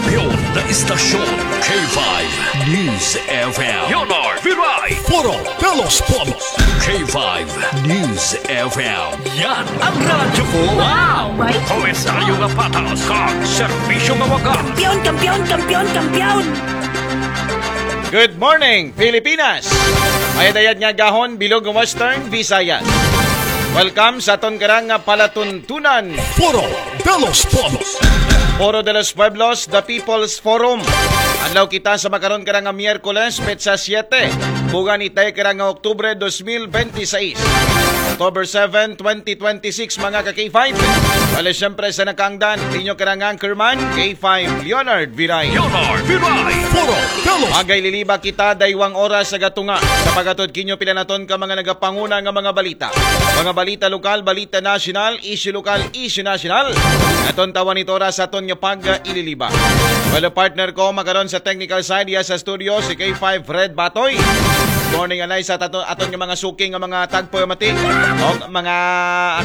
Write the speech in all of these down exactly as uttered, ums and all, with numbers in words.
Yon na istasyon, K five News F M. Leonard Viray. Foro de los Pueblos. K five News F M. Yan ang radyo ko. Wow! Komentaryo nga patas, kag serbisyo nga wagas. Kampiyon, kampiyon, kampiyon, kampiyon! Good morning, Pilipinas! Mayad-ayad nga gahon, bilog nga Western Visayas. Welcome sa aton karang nga palatuntunan. Foro de los Pueblos. Foro de los Pueblos, the People's Forum. Adlaw kita sa makaron karang nga Miyerkules, petsa siete. Bugan itay karang nga Oktubre dos mil benti seis. October seven, twenty twenty-six, mga ka-K five. Wala siyempre sa nakaangdan, inyo karang anchorman, K five Leonard Viray. Leonard Viray. Foro de los Magay liliba kita, daywang oras sa gatunga. Sa pagatod kinyo pila naton ka mga nagapanguna nga mga balita. Mga balita lokal, balita nasyonal, issue lokal, issue nasyonal. Aton tawan ito oras sa aton nga pag-ililiba. Well, partner ko, makaron sa technical side, iya sa studio, si K five Fred Batoy. Morning, anay sa tato, aton nga mga suking nga mga tagpamati. O mga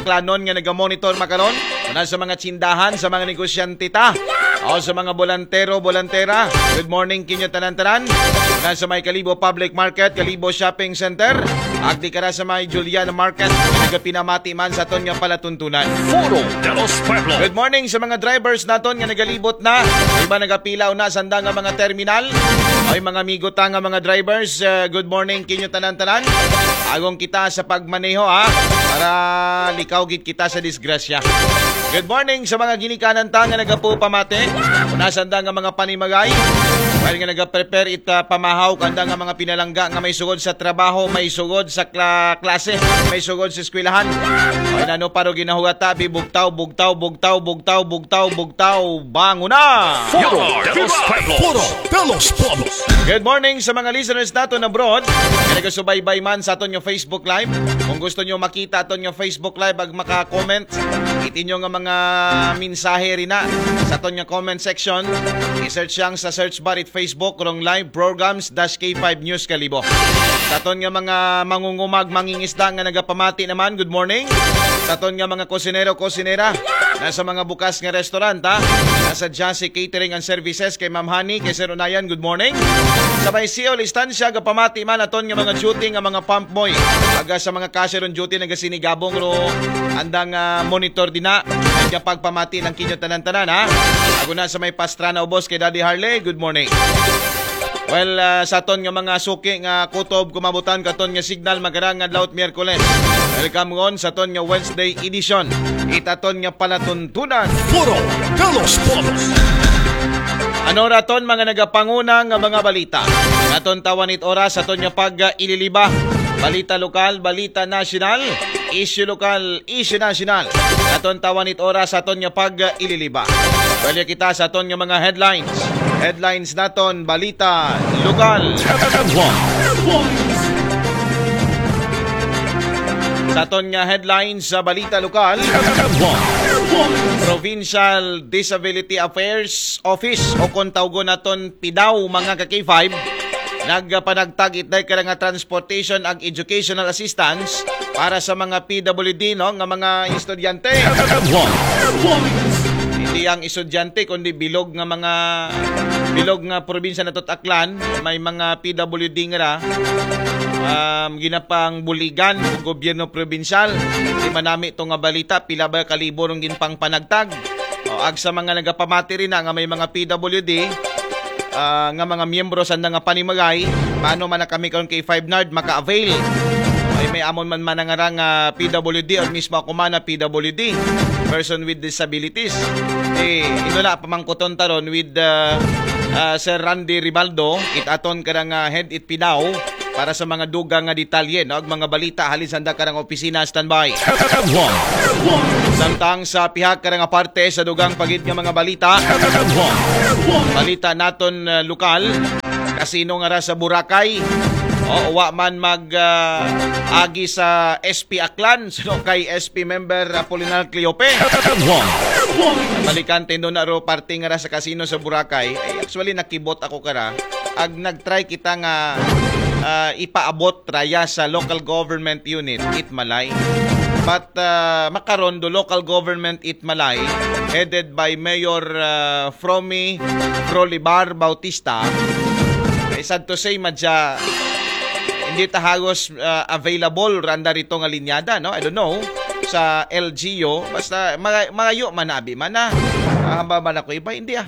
aklanon nga nagamonitor makaron. Muna sa mga tsindahan, sa mga negosyante ta. O sa mga bolantero, bolantera. Good morning kinyo tanan-tanan. Muna sa may Kalibo Public Market, Kalibo Shopping Center. Agdi kara sa may Julian Market. Nagapinamati man sa aton nga palatuntunan. Foro de los Pueblos. Good morning sa mga drivers naton nga nagalibot na. Iba nagapilaw na sanda nga mga terminal. Ay mga amigo ta nga mga drivers, uh, good morning kinyo tanan-tanan. Agong kita sa pagmaneho ha. Para likaw gid kita sa disgrasya. Good morning sa mga ginikanan ta nga nagapupamate. Nasanda nga mga panimagay. While nga nagaprepare it uh, pamahaw kanda nga mga pinalangga nga may sugod sa trabaho, may sugod sa kla- klase, may sugod sa eskwelahan. Ay nano paro ginahugata, bi bugtaw, bugtaw, bugtaw, bugtaw, bugtaw, bugtaw, banguna! Foro de los Pueblos. Foro de los Pueblos. Good morning sa mga listeners naton abroad. Nga nagasubaybay man sa aton nga Facebook Live. Kung gusto nyo makita aton nga Facebook Live ag maka-comment, it inyo nga mga mensahe rina sa aton nga comment section. I-search siyang sa search bar it Facebook rong live programs dash K five News Kalibo. Sa aton nga mga mangungumag, mangingisda nga nagapamati naman, good morning. Sa aton nga mga kusinero, kusinera, nasa mga bukas nga restaurant, ha? Nasa Jassy Catering and Services kay Ma'am Honey, kay Sir Unayan, good morning. Sa may Seoul Estancia, gapamati man aton nga mga duty nga mga pump boy. Aga sa mga cashier on duty, nagasinigabong ro andang ah, monitor din na. Kaya pagpamati ng kinyo tanan-tanan, ha? Ako na sa may Pastrana Ubos kay Daddy Harley, good morning. Well, ah, sa aton nga mga suki nga kutob kumabutan katon nga signal magarang nga adlaw Miyerkules. Welcome ngon sa aton nga Wednesday edition. Itaton nga palatuntunan. Foro de los Pueblos. Ano raton mga nagapanguna nga mga balita? Naton tawan it oras aton nga pag-ililiba. Balita lokal, balita nasyonal, issue lokal, issue nasyonal. Aton tawan it oras aton nga pag-ililiba. Balik kita sa aton nga mga headlines. Headlines naton, balita lokal. Sa aton nga headlines sa balita lokal, Provincial Disability Affairs Office o kung tawgon naton PDAO, mga ka-K five, nagpanagtag itday ka nga transportation ag educational assistance para sa mga P W D, no, nga mga estudyante. Hindi ang estudyante kundi bilog nga mga bilog nga probinsya nato Aklan, may mga P W D nga ra, um, ginapang buligan o gobyerno probinsyal. Di manami to nga balita, pila ba kalibo rong ginpangpanagtag? O, ag sa mga nagapamati rin na nga may mga P W D, ah, nga mga miyembro sa nga panimagay, paano man na kami karon kay five nard maka-avail? Ay may amon man manangarang uh, P W D or mismo ako man na P W D, person with disabilities. Eh, ito na pamangkuton taron with uh, uh, Sir Randy Ribaldo, it aton karang uh, head it PDAO para sa mga dugang nga detalye, no? Ag mga balita halin sa karang opisina, standby. Samtang sa pihak karang parte sa dugang pagid nga mga balita, balita naton uh, lokal, kasino nga ra sa Boracay. O, wa man mag uh, agi sa S P Aklan, sino kay S P member Apolinar Cleope. Balikan tindo na ro parte nga ra sa kasino sa Boracay. Ay, actually, nakibot ako kara. Ag nag-try kita nga uh, ipaabot raya sa local government unit, it Malay. But uh, makaron, the local government it Malay, headed by Mayor uh, Fromy Frolibar Bautista, eh, sad to say, madya, hindi ta hagos uh, available randa rito nga linyada, no? I don't know sa L G U, basta mga, mga yu man abi man na. Ah, hamba ba na ko iba? Hindi ah.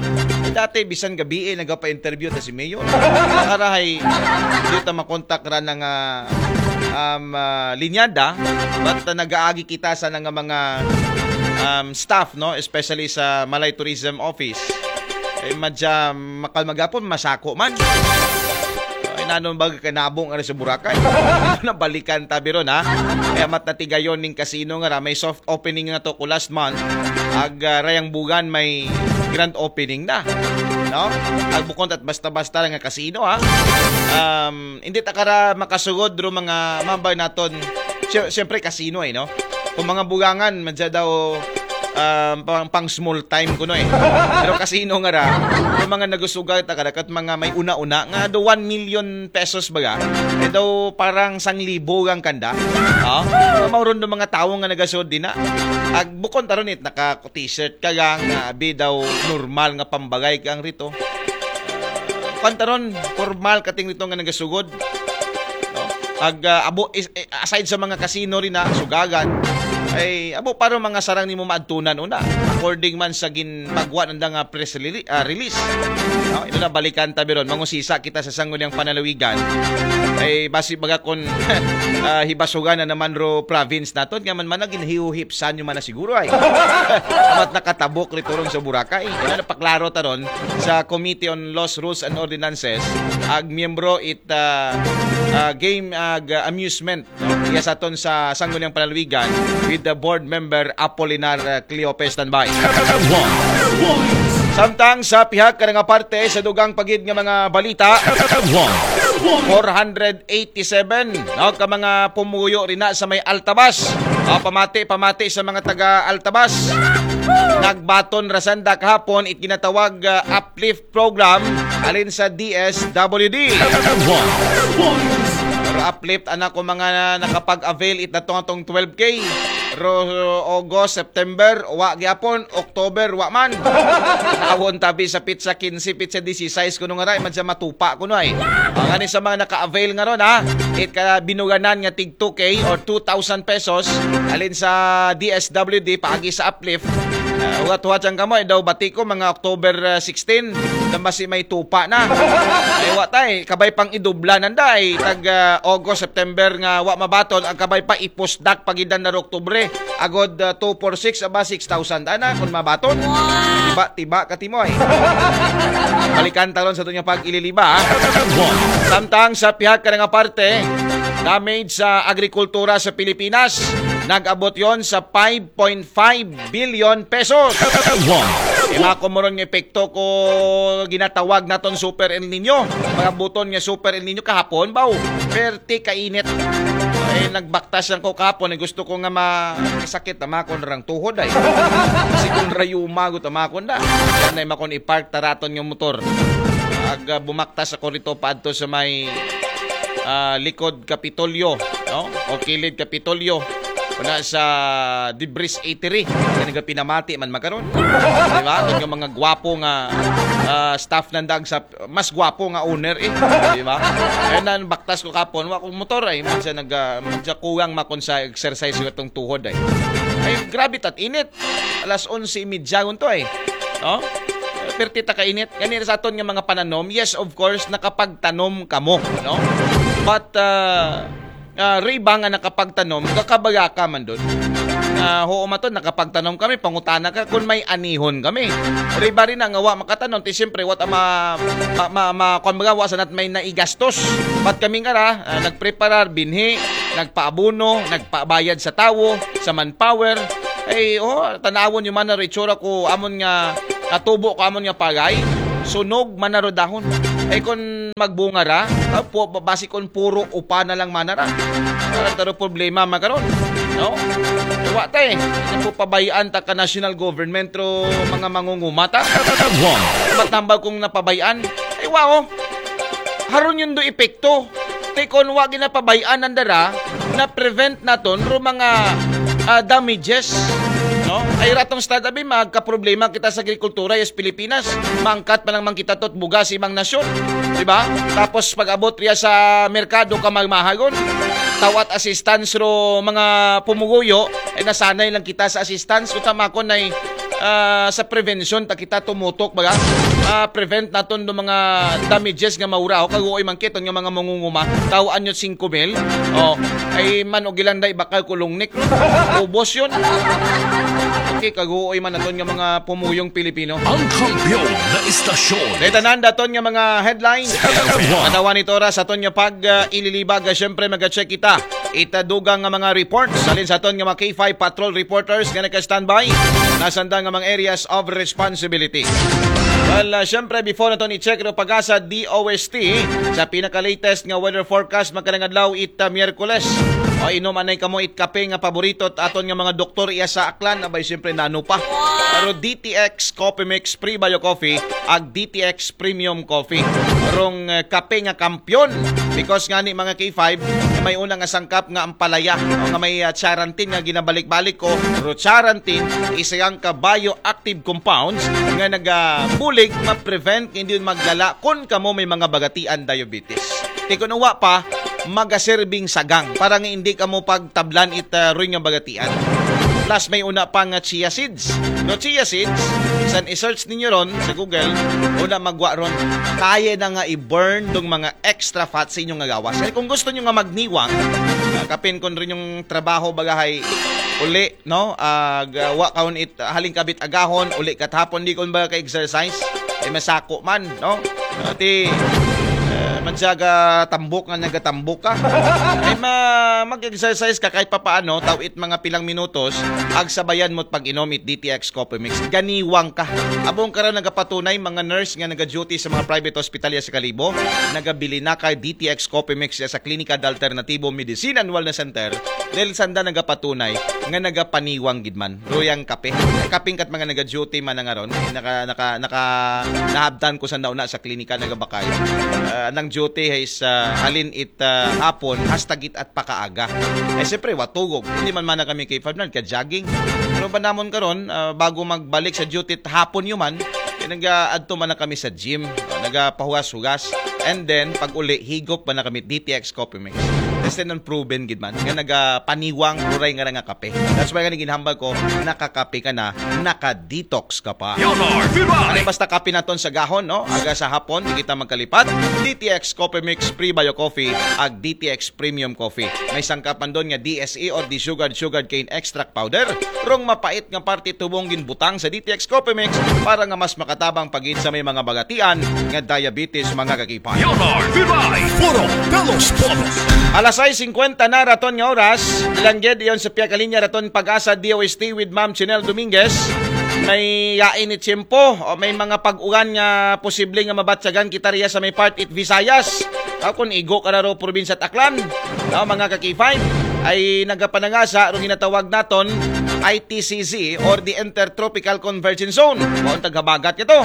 Dati, bisan gabi eh, nagapa-interview ta si Mayor. Nakarahay, hindi ta makontak ra na nga um, uh, linyada, but uh, nagaagi kita sa nga mga um, staff, no, especially sa Malay Tourism Office. Eh, madya, makal magapon, masako man. Ay, nanon ba kanabong ari sa Boracay? Nabalikan tabi ron, ha? Kaya mat natigayon ning kasino nga ra, may soft opening na to ko last month. Ag uh, Rayang Bugan may grand opening na. No? Ag bukon at basta-basta nga kasino, ha? Um, hindi ta kara makasugod ro mga mambay naton. Siyempre, kasino eh, no? Kung mga bugangan, madya daw um, pang, pang small time kuno eh. Pero kasino nga ra, yung mga nagusugal ta kada kat mga may una-una nga do one million pesos baga, eh daw parang sang libo ang kanda. Oh, mauron do mga tawo nga nagasod din na. Ag bukon taron it naka t-shirt ka gang nga abi daw normal nga pambagay kang rito. Pantaron, formal kating rito nga nagasugod. No? Ag uh, abo is, eh, aside sa mga kasino rin na sugagan, ay abo para mga sarang nimo maadtunan una, according man sa ginpagwa nanda nga press release, uh, release. No? Ito na balikan tabi ron, mangusisa kita sa sangguniang panalawigan. Ay basi baga kon uh, hibasugan na naman ro province naton nga man man nagin hiuhipsan yung man na siguro ay amat nakatabok rito ron sa Boracay. Ito na paklaro taron sa Committee on Laws, Rules and Ordinances, ag miyembro it uh, uh, game ag uh, amusement, no? Iya sa aton sa Sangguniang Panalwigan with the board member Apolinar uh, Cleope. Standby. Samtang sa pihak ka nga parte sa dugang pagid nga mga balita, four hundred eighty-seven, no, ka mga pumuyo rin na sa may Altabas. Uh, pamati, pamati sa mga taga Altabas. Nagbaton rasanda kahapon it ginatawag uh, uplift program alin sa D S W D. Pero uplift anak ko mga nakapag-avail it natong atong twelve K. Ro August, September, wa gyapon, October, wa man. Awon tabi sa pitsa quince, pitsa dieciséis kuno nga ray man sa matupa kuno ay. Ang ani sa mga naka-avail nga ron ha, it ka binuganan nga tig two K or two thousand pesos alin sa D S W D paagi sa uplift. Uh, huwat-huwat siyang kamo, eh, daw bati ko mga October uh, sixteen, nang basi may tupa na. Ay, wa tay, kabay pang idubla nanda ay tag uh, August, September nga wa mabaton, ang kabay pa ipusdak pagidan na Oktubre. Agod uh, two four six, aba six thousand ana kung mabaton. Tiba, tiba ka timoy. Balikan taron sa tunyang pag-ililiba. Ha? Samtang sa pihak ka nga parte, damage sa agrikultura sa Pilipinas, nag-abot yon sa five point five billion pesos. Mga kumuron nga epekto ko ginatawag naton Super El Nino. Mga buton nga Super El Nino kahapon, baw. Perti kainit. Ay, nagbaktas lang ko kahapon. Ay, gusto ko nga masakit ang makon rang tuhod ay. Kasi kung rayuma ko tamakon na. Yan ay makon ipark taraton yung motor. Ag uh, bumaktas ako rito paadto sa may uh, likod Kapitolyo, no? O kilid Kapitolyo. Wala sa Debris Eatery. Kaya nga pinamati man makaron. Di ba? Kung yung mga gwapo nga uh, staff ng dag sa mas gwapo nga owner eh. Di ba? Kaya na baktas ko kapon, wa kong motor ay. Minsan nag, uh, minsan kuwang makon sa exercise ko itong tuhod ay. Ay, grabe tat init. Alas onse y media to ay. No? Perti ta kainit. Ganito sa aton nga mga pananom, yes, of course, nakapagtanom kamo, no? But, uh, uh, riba nga nakapagtanom, kakabaga ka man doon. Uh, ho, maton, nakapagtanom kami, pangutana ka kung may anihon kami. Riba rin na nga wa makatanom, ti siyempre, what ama, ma, ma, ma, kung baga, wa sanat may naigastos. But kami nga ra, uh, nagpreparar, binhi, nagpaabuno, nagpabayad sa tawo, sa manpower. Ay, oh, tanawon yung man na ritsura ko, amon nga, natubo ko, amon nga pagay. Sunog, man na rodahon. Ay, kung magbunga ra, uh, po, basi kung puro upa na lang manara. Parang taro problema makaron, no? Wa ta eh. Ano po pabayaan ta ka national government ro mga mangungumata? Matambal kong napabayaan. Ay wow. Haron yun do epekto. Te kon wa ginapabayaan ng dara na prevent naton ro mga ah, damages, no? Ay ratong stad abi, magkaproblema kita sa agrikultura sa Pilipinas. Mangkat pa lang man kita tot bugas ibang nasyon, di ba? Tapos pag-abot riya sa merkado ka magmahagon, tawat assistance ro mga pumuguyo, ay nasanay lang kita sa assistance. Uta makon ay, ah, sa prevention ta kita tumutok baga. Ah, prevent naton do mga damages nga maura. O kaguoy man kiton nga mga mangunguma. Tawaan nyo singko mil. O, ay man og ilan day bakal kulong nik. Ubos yun. Okay, kaguoy man naton nga mga pumuyong Pilipino. Ang kampiyon na istasyon. Detanan daton nga mga headlines. Manawan ito oras aton nga pag uh, ililibag. Uh, Siyempre, mag-check kita. Itadugang nga mga reports. Salin sa aton nga mga K five patrol reporters nga naka-standby. Nasanda nga mga areas of responsibility. Well, uh, siyempre, before naton i-check ro pag-asa D O S T, sa pinaka-latest nga weather forecast, magkalangadlaw it uh, Miyerkules. O inom anay kamo it kape nga paborito at aton nga mga doktor iya sa Aklan, abay siyempre nano pa. Pero D T X Coffee Mix Pre-Bio Coffee ag D T X Premium Coffee. Rong uh, kape nga kampiyon. Because nga ni mga K five, may una nga sangkap nga ampalaya. O nga may uh, charantin nga ginabalik-balik ko. Ro charantin, isa yang ka bioactive compounds nga nagabulig ma-prevent nga hindi yun maglala kung kamo may mga bagatian diabetes. Ti kung uwa pa, magaserbing sagang para nga hindi kamo pagtablan it uh, ruy nga bagatian. Plus may una pa nga chia seeds. No chia seeds, san i-search ninyo ron sa Google, una magwa ron, kaya na nga i-burn tong mga extra fat sa inyong nga gawas. Kaya kung gusto nyo nga magniwang, uh, kapin kung rin yung trabaho bagahay uli, no? Uh, wa kaon it halin kabit agahon, uli kat hapon di kon ba ka exercise. Ay masako man, no? Ati uh, magsaga tambok nga nagatambok ka. Ay ma mag-exercise ka kahit papaano, tawit mga pilang minutos, agsabayan mo't pag-inom it D T X Coffee Mix. Ganiwang ka. Abong karon nagapatunay mga nurse nga nagaduty sa mga private hospital ya sa Kalibo, nagabili na kay D T X Coffee Mix ya sa Klinika de Alternatibo Medicine and Wellness Center dahil sanda nagapatunay nga nagapaniwang gid man. Ruyang kape. Kaping kat mga nagaduty man nga ron, naka naka naka nahabtan ko sa nauna sa klinika nagabakay. Uh, nang duty is uh, halin it uh, hapon hasta git at pakaaga. Eh siyempre watugog. Hindi man man kami K five na ka-jogging. Pero ba namon karon uh, bago magbalik sa duty hapon yuman, eh, nag-aadto man na kami sa gym. Uh, nagapahugas-hugas. And then pag uli higop pa na kami D T X Coffee Mix. Kasi nang proven gid man nga nagapaniwang ruray nga nga kape. That's why nga ginhambal ko, nakakape ka na, naka-detox ka pa. Ano basta kape naton sa gahon, no? Aga sa hapon, di kita magkalipat. D T X Coffee Mix Pre-Bio Coffee ag D T X Premium Coffee. May sangkapan doon nga D S E or desugared sugar cane extract powder. Rong mapait nga parte tubong ginbutang sa D T X Coffee Mix para nga mas makatabang pagid sa may mga bagatian nga diabetes mga kakipay. Yonor Vibay, Puro Pelos Polos. Alas sais singkwenta na raton nga oras, ilangged iyon sa piyakalinya raton pag-asa D O S T with Ma'am Chinel Dominguez. May yain ni tiyempo o may mga pag-ulan nga posible nga mabatyagan kita riya sa may part it Visayas. Aw kung igo ka na ro probinsya at Aklan, no, mga ka-K five, ay nagapanangasa ro ginatawag naton I T C Z or the Intertropical Convergence Zone. Mao ang taghabagat nito.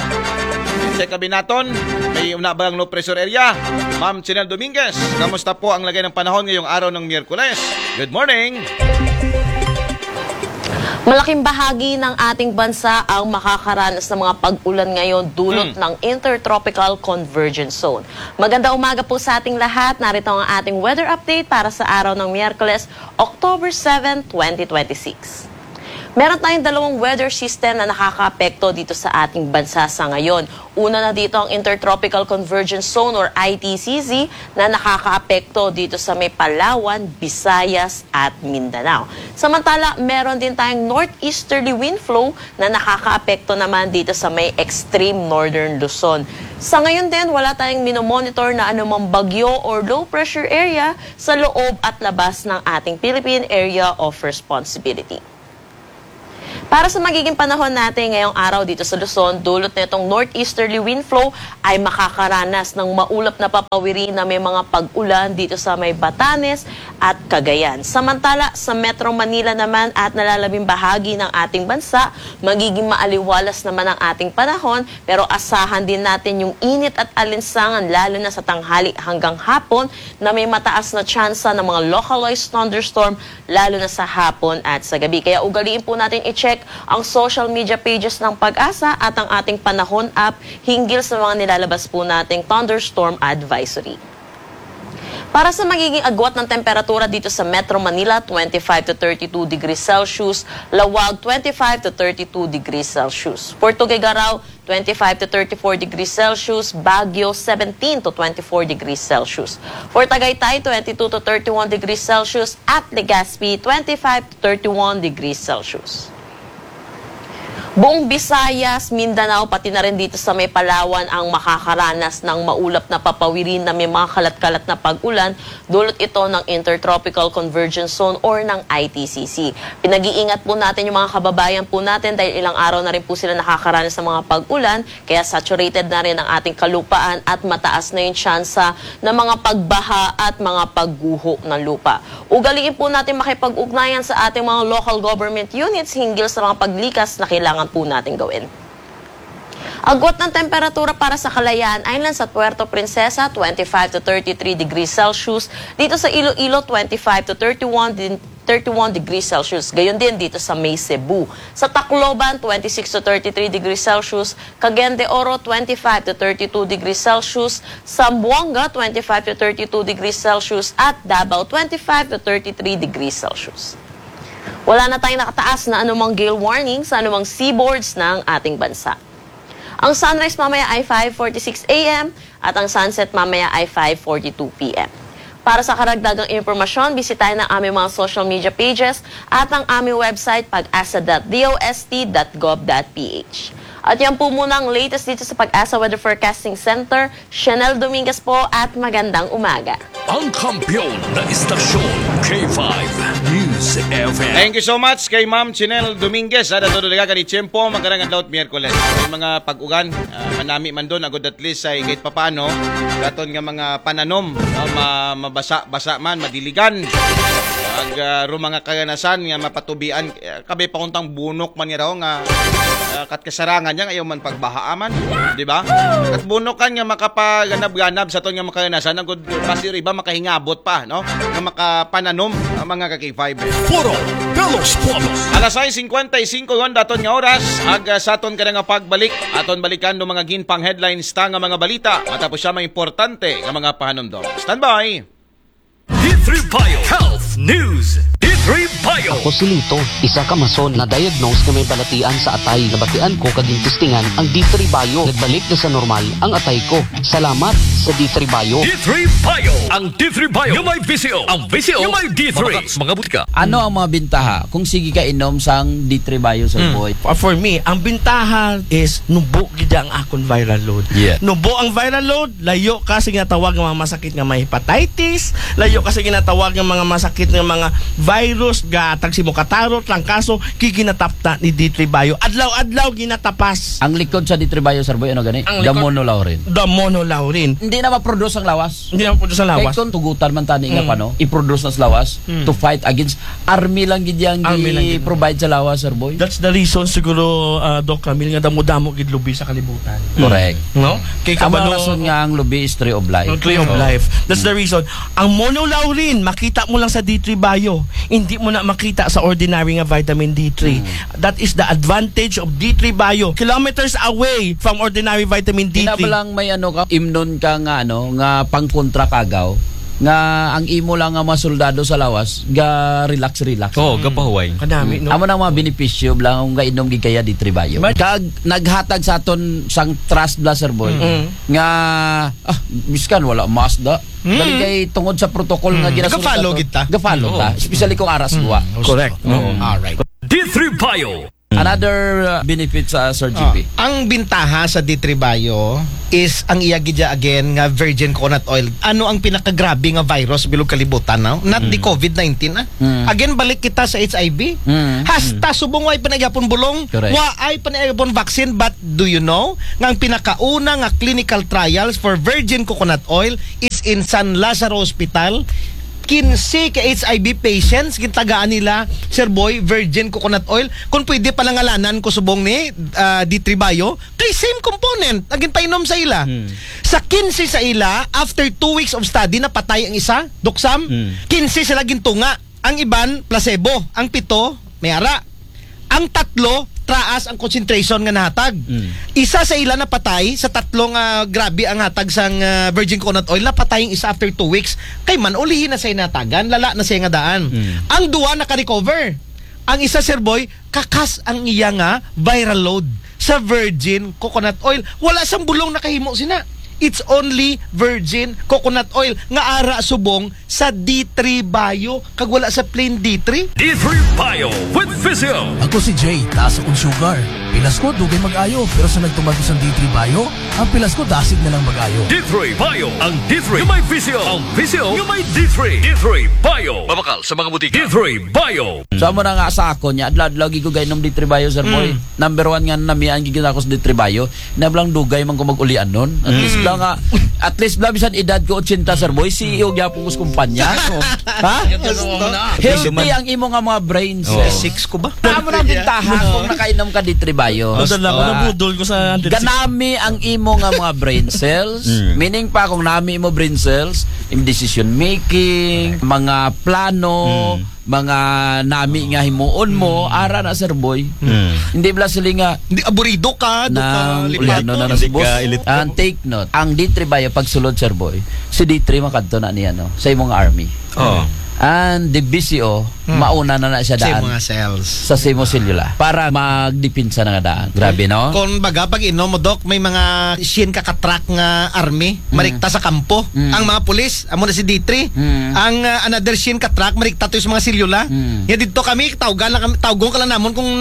Check kami naton, may una ba ang low pressure area? Ma'am Chinel Dominguez, kamusta po ang lagay ng panahon ngayong araw ng Miyerkules? Good morning! Malaking bahagi ng ating bansa ang makakaranas ng mga pag-ulan ngayon dulot hmm. ng Intertropical Convergence Zone. Maganda umaga po sa ating lahat. Narito ang ating weather update para sa araw ng Miyerkules, October seven, twenty twenty-six. Meron tayong dalawang weather system na nakakaapekto dito sa ating bansa sa ngayon. Una na dito ang Intertropical Convergence Zone or I T C Z na nakakaapekto dito sa may Palawan, Visayas at Mindanao. Samantala, meron din tayong northeasterly wind flow na nakakaapekto naman dito sa may extreme northern Luzon. Sa ngayon din, wala tayong minomonitor na anumang bagyo or low pressure area sa loob at labas ng ating Philippine Area of Responsibility. Para sa magiging panahon natin ngayong araw dito sa Luzon, dulot nitong northeasterly wind flow ay makakaranas ng maulap na papawiri na may mga pag-ulan dito sa may Batanes at Cagayan. Samantala, sa Metro Manila naman at nalalabing bahagi ng ating bansa, magiging maaliwalas naman ang ating panahon, pero asahan din natin yung init at alinsangan, lalo na sa tanghali hanggang hapon, na may mataas na tsansa ng mga localized thunderstorm, lalo na sa hapon at sa gabi. Kaya ugaliin po natin i-check ang social media pages ng PAGASA at ang ating Panahon app hinggil sa mga nilalabas po nating thunderstorm advisory. Para sa magiging agwat ng temperatura dito sa Metro Manila, twenty-five to thirty-two degrees Celsius, Laoag, twenty-five to thirty-two degrees Celsius. For Tuguegarao, twenty-five to thirty-four degrees Celsius, Baguio, seventeen to twenty-four degrees Celsius. For Tagaytay, twenty-two to thirty-one degrees Celsius, at Legazpi, twenty-five to thirty-one degrees Celsius. Buong Visayas, Mindanao, pati na rin dito sa may Palawan ang makakaranas ng maulap na papawiri na may mga kalat-kalat na pag-ulan, dulot ito ng Intertropical Convergence Zone or ng I T C C. Pinag-iingat po natin yung mga kababayan po natin dahil ilang araw na rin po sila nakakaranas ng mga pag-ulan, kaya saturated na rin ang ating kalupaan at mataas na yung tsansa ng mga pagbaha at mga pagguho ng lupa. Ugaliin po natin makipag-ugnayan sa ating mga local government units hinggil sa mga paglikas na kailangan po natin gawin. Agwat ng temperatura para sa Kalayaan Islands at Puerto Princesa, twenty-five to thirty-three degrees Celsius. Dito sa Iloilo, twenty-five to thirty-one din, thirty-one degrees Celsius. Gayon din dito sa may Cebu. Sa Tacloban, twenty-six to thirty-three degrees Celsius. Cagayan de Oro, twenty-five to thirty-two degrees Celsius. Zamboanga, twenty-five to thirty-two degrees Celsius. At Davao, twenty-five to thirty-three degrees Celsius. Wala na tayong nakataas na anumang gale warning sa anumang seaboards ng ating bansa. Ang sunrise mamaya ay five forty-six a m at ang sunset mamaya ay five forty-two p m. Para sa karagdagang impormasyon, bisitahin ang aming mga social media pages at ang aming website, pagasa dot dost dot gov dot ph. At yan po muna ang latest dito sa PAGASA Weather Forecasting Center. Chanel Dominguez po at magandang umaga. Ang kampiyon na istasyon, K five News F M. Thank you so much kay Ma'am Chinel Dominguez. Ada todo daga kani Tiempo, magkarang adlaw at Miyerkules. May mga pag-ugan, ah, manami man doon, agod at least ay kahit papano, katon nga mga pananom, no, ma- mabasa-basa man, madiligan. Ag uh, mga kaganasan nga mapatubian, eh, kabay pa kuntang bunok man nga raw nga ah, kat kasarangan niya, ayaw man pagbahaa man, di ba? Kat bunokan nga makapaganab-ganab sa ton nga makaganasan, ang good basi iba makahingabot pa, no? Nga makapananom ang mga ka-K five. Puro Pelos Pueblos. Alas sais singkwenta y singko yon daton nga oras, ag ah, sa aton kada nga pagbalik, aton balikan do mga ginpang headlines ta nga mga balita, matapos siya mga importante nga mga pahanumdom. Standby! D three Bio Health News. D three Bio. Ako si Lito, isa ka mason na diagnose nga may balatian sa atay. Nabatian ko kag gintistingan ang D three Bio. Nagbalik na sa normal ang atay ko. Salamat sa D three Bio. D three Bio. Ang D three Bio nga may V C O. Ang V C O nga may D three. Mga, mga butika. Ano ang mga bintaha kung sige ka inom sang D three Bio, Sir Boy? Uh, for me, ang bintaha is nubo gid ang akon viral load. Yeah. Nubo ang viral load, layo ka sa ginatawag nga mga masakit nga may hepatitis, layo ka sa ginatawag nga mga masakit nga mga virus, gatag si mo katarot, trangkaso, giginatapta ni D three Bio. Adlaw-adlaw ginatapas. Ang likod sa D three Bio, Sir Boy, ano gani? Ang The likod- monolaurin. The monolaurin. Hindi na ma-produce ang lawas. Hindi na po sa Kaya lawas. kung tugutan man tani nga Mm. pa, no? I-produce na sa lawas Mm. to fight against army lang gid yang Army lang gid. i-provide sa lawas, Sir Boy. That's the reason siguro, uh, Doc Camille, nga damo-damo gid lubi sa kalibutan. Correct. No? Kay Ang mga kabalo- rason nga ang lubi is tree of life. Ang tree of So, life. That's the reason. Ang monolaurin, makita mo lang sa D three Bio. Hindi mo na makita sa ordinary nga vitamin D three. That is the advantage of D three Bio. Kilometers away from ordinary vitamin D three. Kinabalang may ano ka, imnon ka nga ano, nga pangkontra kagaw, nga ang imo lang nga mga soldado sa lawas, ga relax relax. Oo, gapahuway. Kadami, no? Amo na mga benepisyo bla kung gainom gid kaya D three Bio. Kag naghatag sa aton sang trust bla, Sir Boy, nga ah, biskan wala mask da. Dali kay tungod sa protocol nga ginasunod Nagafollow nato. gid ta. Gafollow ta, especially kung aras duwa. Correct. Oo. Alright. D three Bio. Another uh, benefit sa Sir G P. Ah, ang bintaha sa D three Bio is ang iya gid ya again nga virgin coconut oil. Ano ang pinakagrabe nga virus bilog kalibutan now? Not the covid nineteen, ah. Again, balik kita sa H I V. Hasta subong way pa na gyapon bulong, way pa na gyapon vaccine, but do you know nga ang pinakauna nga clinical trials for virgin coconut oil is in San Lazaro Hospital? Kinse ka H I V patients, gintagaan nila, Sir Boy, virgin coconut oil. Kung pwede, palangalanan ko subong ni ah, D three Bio, kay same component ang ginpainom sa ila. Sa kinse sa ila, after two weeks of study, napatay ang isa, Doc Sam. Kinse sila gintunga. Ang iban, placebo. Ang pito, may ara. Ang tatlo, traas ang concentration nga nahatag. Isa sa ila napatay sa tatlo nga grabe ang hatag sang ah, virgin coconut oil, napatay ang isa after two weeks. Kay man, ulihi na siya natagan, lala na siya nga daan. Ang duwa naka-recover. Ang isa, Sir Boy, kakas ang iya nga viral load sa virgin coconut oil. Wala sang bulong nakahimo sina. It's only virgin coconut oil nga ara subong sa D three Bio kag wala sa plain D three. D three Bio with Physio. Ako si Jay, taas akong sugar. Pilas ko, dugay mag-ayo, pero sa nagtumag sa D three Bio, ang pilas ko dasig na lang mag-ayo. D three Bio, ang D three nga may Physio, ang Physio nga may D three. D three Bio. Mabakal sa mga butika. D three Bio. So, amo na nga sa akon, nya, adlaw-adlaw gid ko gainom D three Bio, Sir Boy. Number one nga namian gid ako sa D three Bio. Nablang dugay man ko mag-ulian nun. At least bla nga, at least bla bisan edad ko eighty, Sir Boy, C E O gyapon ko sa kumpanya. Ha? Healthy ang imo nga mga brain cells. Six ko ba? Amo na ang bintaha kung nakainom ka D three Bio. Ang dala ko, nabudol ko sa hundred six. Ganami ang imo nga mga brain cells. Meaning pa, kung nami mo brain cells, in decision making, mga plano, mga nami nga himuon mo, ara na, Sir Boy. Hindi bla sila nga Hindi, aburido ka, do ka na lipat. Uliano na na si boss. And take note, ang D three Bio pagsulod, Sir Boy, si D three makadto na niya, no, sa imong army. Oh. And the B C O, mauna na na siya Sa daan mga cells. Sa simo selula para magdepensa na nga daan. Grabe, no? Kung baga, pag inom mo, Doc, may mga shin ka katrak nga army, marikta sa kampo. Ang mga pulis, amo na si D three. Ang ah, another shin ka track, marikta to sa mga selula. Nga dito kami, tawgan lang kami, tawgon ka lang namon kung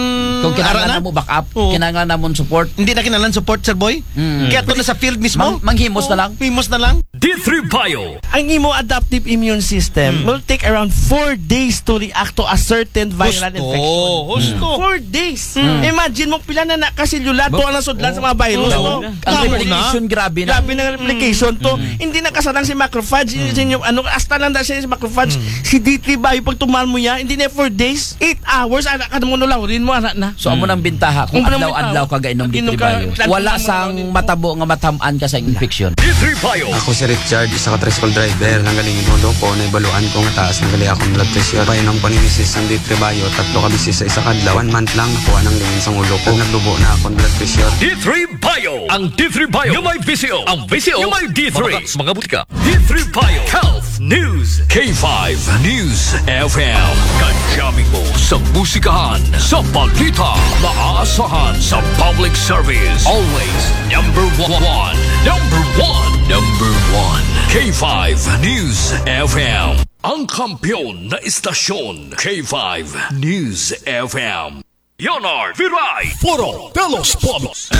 Kung kinahanglan ara na. Namo back up, Oo. Kinahanglan namon support. Hindi na kinahanglan support, Sir Boy. Kaya to na sa field mismo. Mang-, manghimos na lang. Himos na lang. D three Bio. Ang imo adaptive immune system will take around four days to react to a certain viral Gusto. infection. Gusto. Four days. Imagine mo, pila na nakaselula to ang nasudlan sa mga virus. Tama na. Ang Tama na. replication, grabe na. Grabe na ang replication to. Hindi nakasarang si macrophage. Hindi siya, ano, hasta lang dahil siya si macrophage. Si D three Bio, pag tumal mo yan, hindi na four days, eight hours, anak ka mo, nulawrin mo, anak na. So, amo nang bintaha kung Ang adlaw-adlaw bintaha. ka gainom Pag inom D three ka, Bio. lagi Wala mo sang nulawrin mo. matabo nga matamaan ka sa infection. D three Bio. Ako si Richard, isa ka tricycle driver. Nang galing yung ulo ko, naibaluan ko nga taas na gali akong blood pressure. Painom ko ni misis ang D three Bio, tatlo ka bisis sa isa ka adlaw. One month lang, nakuha nang lingin sa ulo ko. Naglubo na akong blood pressure. D three Bio. Ang D three Bio. Yung may visyo. Ang visyo. Yung may D three. Mabakal sa mga butika. D three Bio Health News. K five News F M. Kadyamin mo sa musikahan, sa balita, maaasahan sa public service. Always number one. Number one. Number one. K five News F M. Ang kampiyon na istasyon, K five News F M. Leonard Viray. Foro de los Pueblos.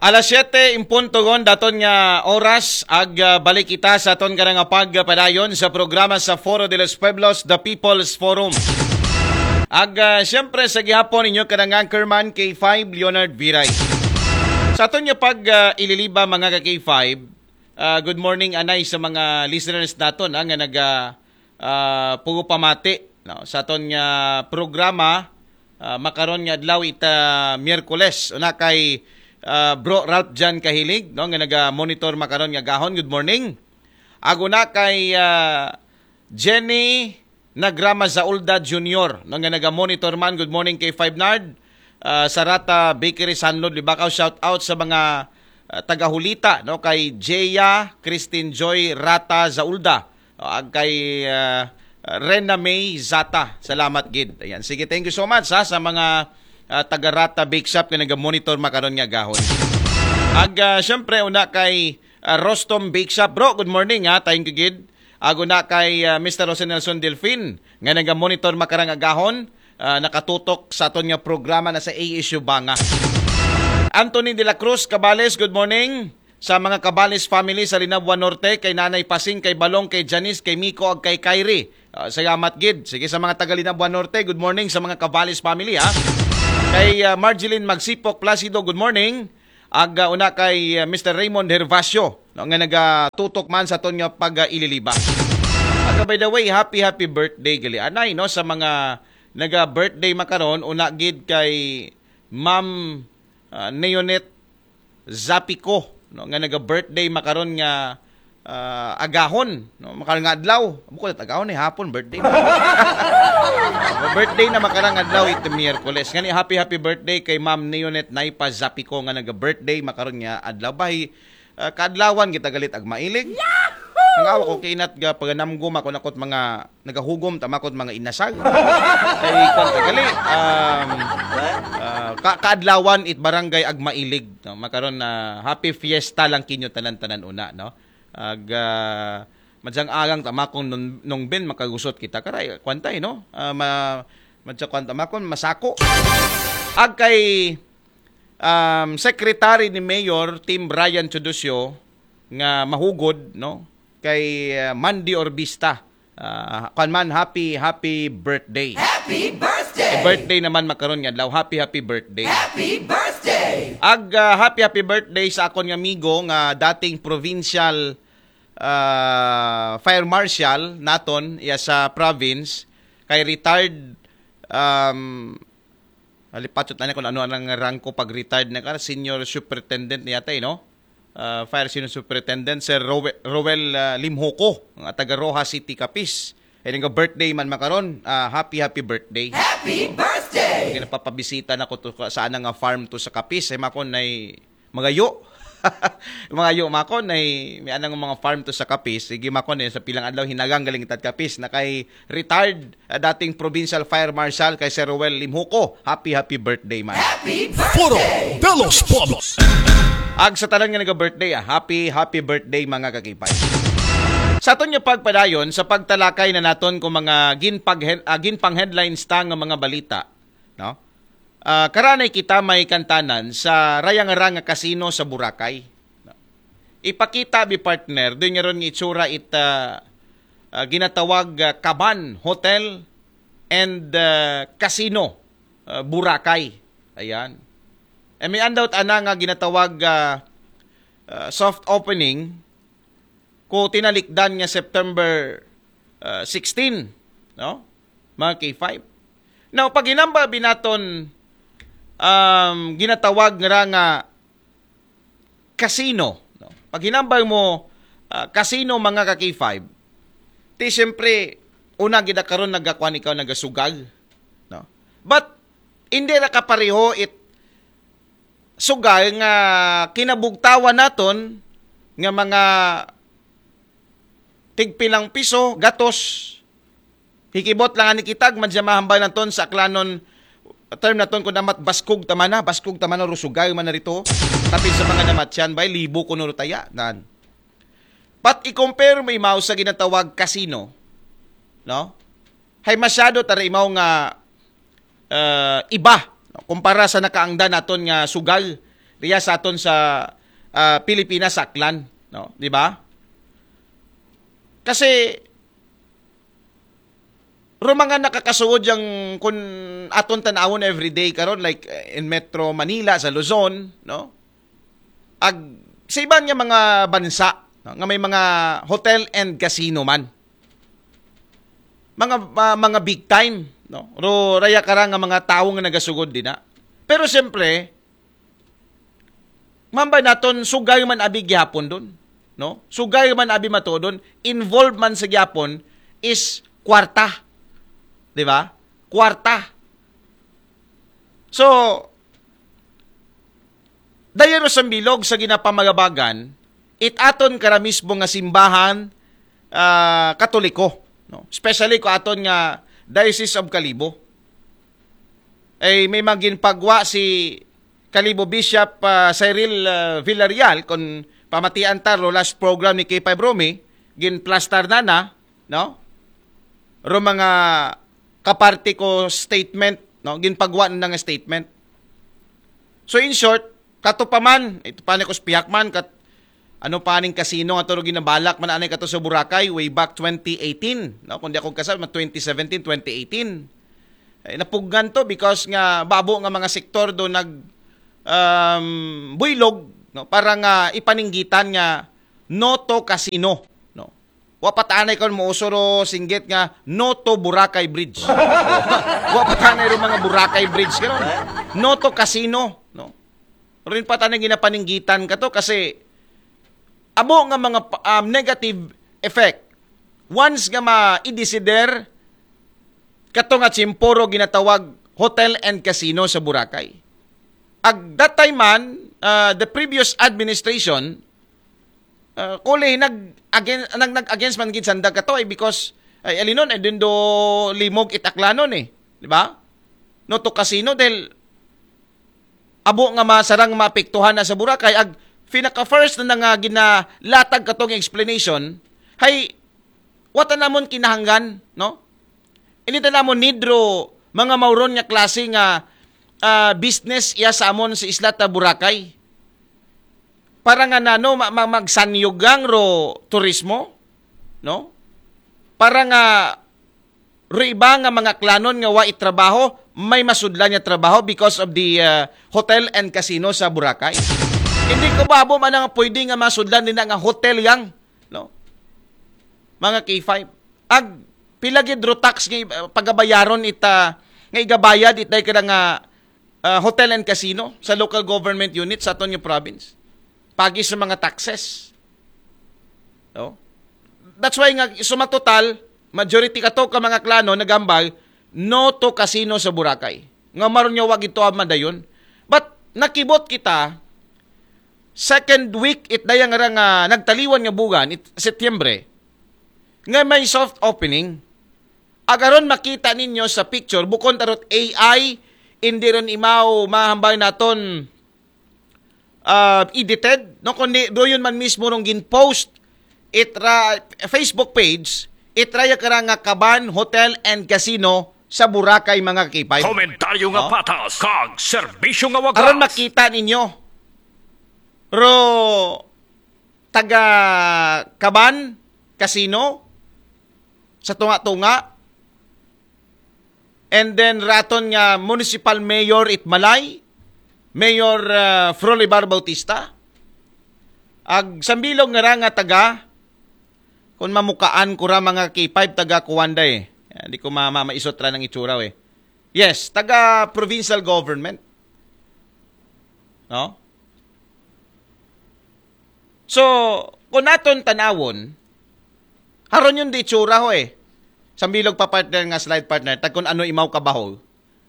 Alas siyete en punto gon daton nga oras, ag ah, balik kita sa aton kanang pagpadayon sa programa sa Foro de los Pueblos, The People's Forum. Ag ah, siyempre sa gihapon, inyo kanang anchorman, K five Leonard Viray. Sa aton nga pag ah, ililiba, mga ka K five, ah, good morning anay sa mga listeners naton ah, nga naga ah, pugupamati, no, sa aton nga programa ah, makaron nga adlaw, ita Miyerkules. Una kay ah, Bro Ralph John Kahilig, no, nga naga-monitor makaron nga gahon. Good morning. Ag una kay ah, Jenny Nagrama Zaulda Junior, no, nga naga-monitor man. Good morning, K five Nard. Ah, sa Rata Bakery, Sanlod, Libacao. Shout out sa mga ah, taga-Hulita, no, kay Jaya Christine Joy Rata Zaulda. O, ag kay ah, Rena May Zata. Salamat gid. Ayan. Sige, thank you so much ha, sa mga ah, taga Rata Bake Shop nga naga-monitor makaron nga gahon. Ag ah, syempre, una kay ah, Rostom Bake Shop. Bro, good morning ha. Thank you gid. Ag una kay ah, Mister Jose Nelson Delfin nga naga-monitor makarang agahon. ah, nakatutok sa aton nga programa na sa A S U Banga. Anthony de la Cruz, Cabales, good morning. Sa mga Cabales family sa Linabua Norte, kay Nanay Pasing, kay Balong, kay Janice, kay Miko, ag kay Kyrie. Ah, salamat gid. Sige, sa mga taga Linabua Norte, good morning sa mga Cabales family, ha. Kay, ah, Marjeline Magsipok Placido, good morning. Ag, ah, una kay, ah, Mister Raymond Hervacio, no, nga nagatutok man sa aton nga pag-ililiba. Ag, by the way, happy, happy birthday gali anay, no, sa mga naga-birthday makaron, una gid kay Ma'am, ah, Neonet Zapico, no, nga naga-birthday makaron nga, ah, agahon, no, makaron nga adlaw. Buko na agahon eh, hapon birthday. Birthday na makarang adlaw ito Miyerkules. Ngani, happy, happy birthday kay Ma'am Neonet Naipa Zapico nga naga-birthday makaron nga adlaw. Bahi, ah, kaadlawan kita galit ag mailig. Ang awa ko kinat ga paganamgom ako nakot mga nagahugom tama ko mga inasag. Kay kwan ka gali, um, ah, ka kaadlawan it barangay ag mailig, no? Makaron na happy fiesta lang kinyo tanan-tanan una, no? Ag, ah, madyang agang tama kong nung, nung bin makagusot kita. Karay, kwantay, no? Ah, ma, madyang kwanta makon, masako. Ag kay, um, Secretary ni Mayor Tim Brian Chudusyo nga mahugod, no? Kay, ah, Mandy Orbista. Ah, kwan man, happy, happy birthday. Happy birthday! Eh, birthday naman makaron nga adlaw. Happy, happy birthday. Happy birthday! Ag, ah, happy, happy birthday sa akon nga amigo nga dating provincial, ah, fire marshal naton iya sa province, kay retired, um, halipachot na niya kung ano ang rangko pag retired na ka, senior superintendent niya tayo, no? Ah, fire senior superintendent, Sir Rowe-, Roel, ah, Limhoco, nga taga Roxas City, Capiz. Ay nga birthday man makaron, ah, happy, happy birthday. Happy birthday! Kaya napapabisita na ko to ka- sa anang nga farm to sa Capiz. Ay makon ay magayo. Magayo makon ay may anang mga farm to sa Capiz. Sige makon eh, sa pilang adlaw hinagang galing tat Capiz. Na kay retired, ah, dating provincial fire marshal kay Sir Roel Limhoco. Happy, happy birthday man. Happy Foro birthday! De los Pueblos. Ag sa tanan nga naga-birthday, ah, happy, happy birthday mga kakipay. Sa aton nga pagpadayon, sa pagtalakay na naton kung mga ginpag-, ah, ginpang-headlines ta nga mga balita, no? Ah, karanay kita may kantanan sa rayang-rang nga kasino sa Boracay. Ipakita bi partner, doon nga ron nga itsura it, ah, ah, ginatawag, ah, Kaban Hotel and, ah, Casino, ah, Boracay. Ayan. E may andaw ana nga ginatawag, ah, ah, soft opening ko tinalikdan nga September, ah, sixteen, no? Mga K five. Now, pag hinamba binaton, um, ginatawag nga ra nga casino, no? Pag hinambal mo, ah, casino, mga ka K five, ti siyempre, una gid karon nagakuan ikaw, nagasugal, no? But hindi ra kapareho it sugal nga kinabugtawan naton nga mga tigpilang piso, gatos. Hikibot lang ani kitag, madya mahambal naton sa aklanon, term naton kung damat baskog tamana, baskog tamana, rusugal man na rito. Tapi sa mga namatyan, bay, libo ko nurutaya, nan. But i-compare mo imaw sa ginatawag casino, no? Hay masyado tara imaw nga, eh, iba, no? Kumpara sa nakaangda naton nga sugal, riya sa aton sa, ah, Pilipinas, sa Aklan, no? Di ba? Kasi, ro mga nakakasuod yang kun aton tanawon everyday karon, like, eh, in Metro Manila, sa Luzon, no? Ag, sa iban nga mga bansa, no? Nga may mga hotel and casino man. Mga, ah, mga big time, no? Ro, raya kara nga mga tawo nga nagasugod din na. Pero siyempre, mambay naton, sugal man abi gihapon dun, no? Sugal man abi mato dun, involved man sa gihapon is kwarta. Di ba? Kwarta. So, dayon sa bilog sa ginapamagabagan, it aton kara mismo nga simbahan, ah, Katoliko, no? Especially ko aton nga Diocese of Kalibo. Ay may maginpagwa si Kalibo Bishop, ah, Cyril, ah, Villarreal, kung pamatian ta, ro last program ni K five Romy, ginplastar na na, no? Ro mga kaparte ko statement, no? Ginpagwa na nga statement. So in short, kato pa man, ito pa ni ko sa pihak man, kat, ano pa ning kasino nga turo ginabalak man anay kato sa Boracay way back twenty eighteen, no? Kung di ako kasal, ma twenty seventeen, twenty eighteen. Eh, napugngan to because nga babo nga mga sektor do nag um, buylog, no? Para nga ipaninggitan nga no to casino, no? Wa pa ta anay kon mouso ro singgit nga no to Boracay Bridge. Wa pa ta anay ro mga Boracay Bridge karon. No to casino, no? Rin pa ta anay ginapaninggitan kato kasi amo nga mga pa- um, negative effect. Once nga ma-desider kato nga tiyempo ro ginatawag hotel and casino sa Boracay. Ag that time man, uh, the previous administration, uh, kuli nag against, nag, nag against man gid sanda kato ay because ay alinon ay dindo limog it Aklanon eh, di ba? No to casino dahil abo nga masarang maapektuhan na sa Boracay ag pinaka first na nga ginalatag katong explanation hay wa ta namon kinahanglan, no? Ini ta namon need ro mga mauron nga klase nga ah, business iya sa amon sa isla ta Boracay para nga nano ma- ma- magsanyugang ro turismo, no? Para nga ro iba nga mga Aklanon nga wa itrabaho, may masudlan nga trabaho because of the uh, hotel and casino sa Boracay. Hindi ko babo man nga pwede nga masudlan din nga hotel yang, no? Mga K five. Ag pila gid ro tax nga uh, pagabayaron ita nga igabayad itay kada nga uh, hotel and casino sa local government unit sa aton nga province. Pagi sa mga taxes. No? That's why nga suma total, majority kato ka mga Aklanon nagambal no to casino sa Boracay. Nga maron nga wa gid to madayon. But nakibot kita second week it dayang ra nga nagtaliwan nga bugan it Setyembre nga may soft opening. Agaron makita ninyo sa picture bukon tarot A I, hindi ron imaw mahambay naton uh, edited, no, kundi doon man mismo rong gin-post itra Facebook page, itraya kara nga Kaban Hotel and Casino sa Boracay, mga K five. Komentaryo nga Oh. patas, kag serbisyo nga wagas. Aron makita ninyo. Ro taga Kaban Casino sa tunga-tunga. And then raton nga municipal mayor it Malay, Mayor uh, Frolibar Bautista. Ag sambilog nga ra nga taga kung mamukaan ko ra mga K five taga Kuwanda eh. Di ko ma- ma- maisot ra ng itsura eh. Yes, taga provincial government. No? So, kung naton tanawon, haron yun di itsura ho eh. Sambilog pa partner nga slide partner, tag kung ano imaw kabaho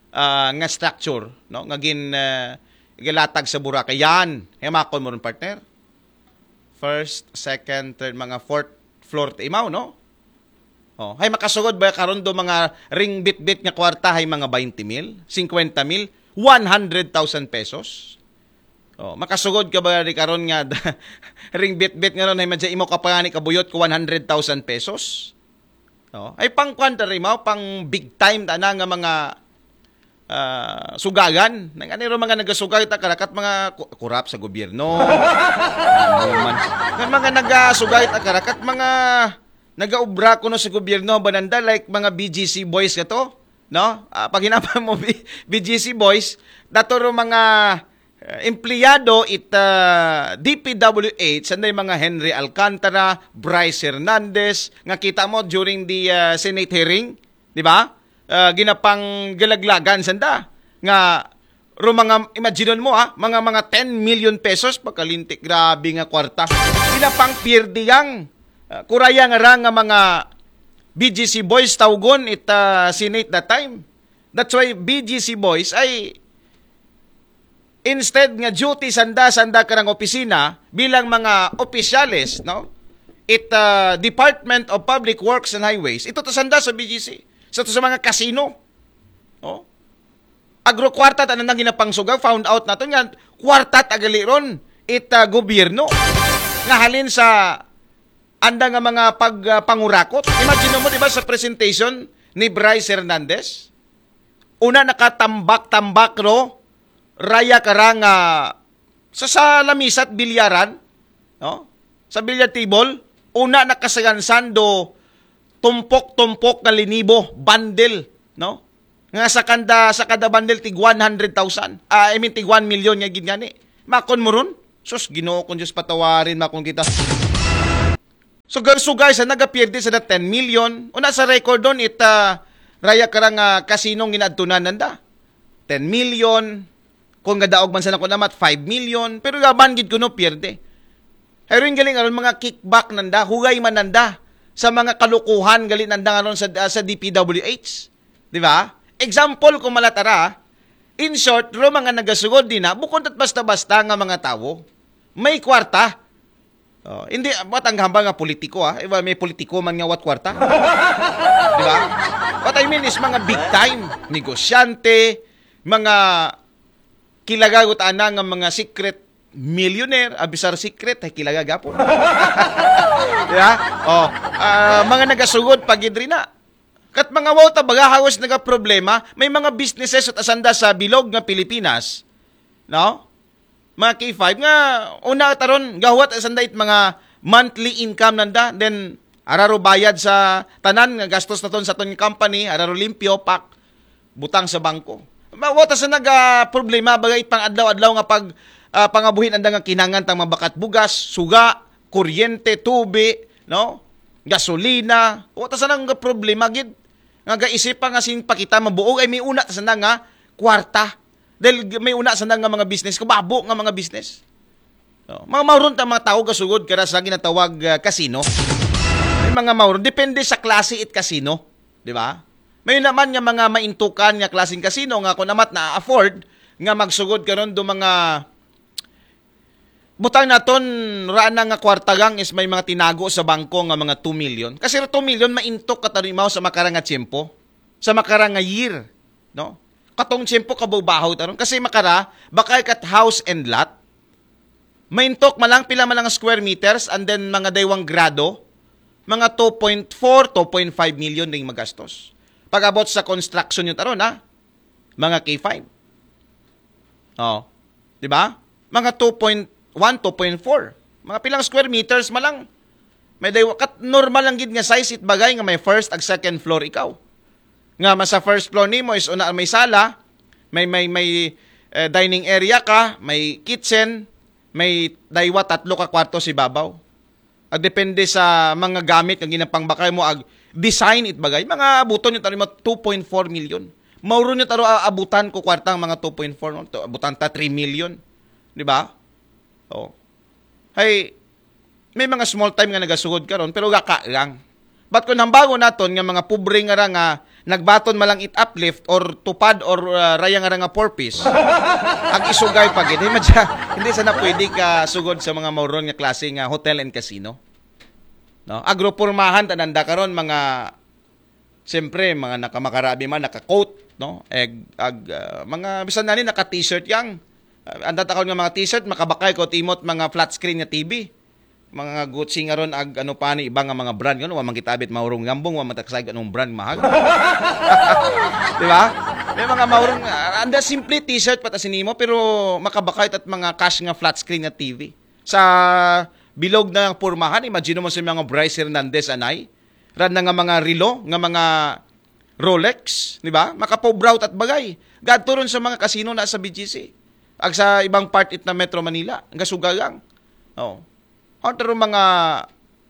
ah, nga structure, no? Nga gin ah, gilatag sa Boracay. Yan, hemakon mo ron partner. First, second, third, mga fourth floor ta imaw, no? Oh, hay makasugod ba karon do mga ring bitbit nga kwarta hay mga twenty mil, fifty mil, one hundred thousand pesos? Oh, makasugod ka ba di karon nga ring bitbit nga ron hay madya imo ka pangani kabuyot ko one hundred thousand pesos? Oh, ay pang kwan ta rin mo, pang big time ta na nga mga ah, sugagan. Nang aniro mga nagasugay ta karakat mga ku- kurap sa gobyerno. Ano man. Nga mga nagasugay ta karakat mga nagaubra kuno sa gobyerno bananda like mga B G C boys kato, no? Ah, pag hinapa mo B- B G C boys, dato ro mga uh, empleyado it uh, D P W H, sanday mga Henry Alcantara, Bryce Hernandez, nga kita mo during the uh, Senate hearing, di ba? Uh, ginapang galaglagan sanda nga ro mga imaginon mo ha, mga mga ten million pesos pagkalintik, grabe nga kwarta. Ginapang pirdiyang uh, kurayang ra nga mga B G C boys tawgon it uh, Senate that time. That's why B G C boys ay instead nga duty sanda sanda karang opisina bilang mga opisyales, no? It uh, Department of Public Works and Highways. Ito to sanda sa B G C. Sa to sa mga kasino. Oh. Agro kwarta ta nang ginapangsuga, found out nato nga kwarta tagali ron it uh, gobyerno nga halin sa anda nga mga pag uh, pangurakot. Imagine mo di ba sa presentation ni Bryce Hernandez. Una nakatambak-tambak, no? Raya ka ra nga sa, sa lamisat bilyaran, no? Sa billiard table, una nakasagansan do tumpok-tumpok nga linibo, bundle, no? Nga sa kanda, sa kada bundle tig one hundred thousand. Ah, I mean, tig one million nga gid gani. Makon mo ron? Sus, Ginoo kong Diyos, patawarin makon kita. Sugar-sugar sa nagapierde sa na ten million. Una sa record doon, it, ah, raya ka ra nga kasinong ginaadtunan nanda. Ten million. Kung gadaog man sa nako namat, five million. Pero yaman gid kuno pierde. Pero yung galing aron mga kickback nanda, hugay man nanda sa mga kalukuhan gali nanda nga ron sa, ah, sa D P W H. Di ba? Example, kung malatara, in short, ro mga nagasugod din na, bukod at basta-basta nga mga tawo. May kwarta. Oh, hindi, what ang hambal nga politiko, ah? Iba, may politiko man nga wat kwarta. Di ba? What I mean is mga big time, negosyante, mga kilagagot ana nga mga secret millionaire, abisar secret, ay kilaga gapon. Di ba? Oh, ah, mga nagasugod pag idri na. Kat mga wow ta baga hawas naga problema, may mga businesses at asanda sa bilog nga Pilipinas, no? Mga K five nga una taron gahuwat asanda it mga monthly income nanda, then araro bayad sa tanan nga gastos naton sa ton company, araro limpyo, pak, butang sa bangko. Mawata sa naga problema bagay pang adlaw-adlaw nga pag, ah, pangabuhin anda nga kinangan tang mabakat bugas, suga, kuryente, tubi, no? Gasolina. Wata sa nang problema gid. Nga gaisip pa nga sin pakita mabuog ay may una ta sana nga kwarta. Dahil g- may una sana nga mga business, kababo nga mga business. No? Mga mauron ta mga tao gasugod kara sa ginatawag, ah, kasino. May mga mauron, depende sa klase it kasino, di ba? May naman nga mga maintukan nga klaseng kasino nga kung amat na-afford nga magsugod karon do mga butang naton raan na nga kwarta gang is may mga tinago sa bangko nga mga two million. Kasi two million maintok ka tanimaw sa makara nga tiyempo, sa makara nga year, no? Katong tiyempo kabaw-bahaw taron kasi makara bakay kat house and lot. Maintok malang pila malang square meters and then mga daywang grado, mga two point four, two point five million ring magastos. Pag-abot sa construction yun taron, ha? Mga K five. Oh. Di ba? Mga two point one, two point four. Mga pilang square meters malang. May daywa kat normal lang gid nga size it bagay nga may first ag second floor ikaw. Nga mas sa first floor nimo is una may sala, may may may eh, dining area ka, may kitchen, may daywa tatlo ka kwarto si babaw. Ag depende sa mga gamit nga ginapangbakay mo ag design it bagay. Mga abuton nyo taro mga two point four million. Mauro nyo taro a- abutan ko kwartang mga two point four, no? To- Abutan ta three million. Di ba? Oh. Hay, may mga small time nga nagasugod karon pero gaka lang. But kung hambago naton nga mga pobre nga ra nga nagbaton malang it uplift or tupad or uh, raya nga ra nga purpose, ang isugay pa gid, hindi, hindi sana pwede ka sugod sa mga mauron nga klase nga hotel and casino. No? Agro pormahan tananda karon mga siyempre mga nakamakarabi man naka-coat, no? Eg ag ah, mga bisan na ni naka-t-shirt yang. Ah, anda ta karon nga mga t-shirt makabakay ko timot mga flat screen nga T V. Mga Gucci nga ron ag ano pa ni iba nga mga brand ngano wa man kita abit maurong gambong wa man ta kasayod anong brand mahal. Di ba? May mga maurong ah, anda simple t-shirt pa ta sinimo pero makabakay at mga cash nga flat screen nga T V. Sa bilog na ang pormahan, imagine mo sa mga Bryce Hernandez anay, ran na nga mga relo, nga mga Rolex, di ba? Makapobraw at bagay. Gadto ron sa mga kasino na sa B G C. Ag sa ibang part it na Metro Manila, ang gasugagang. Oh. Ang taro mga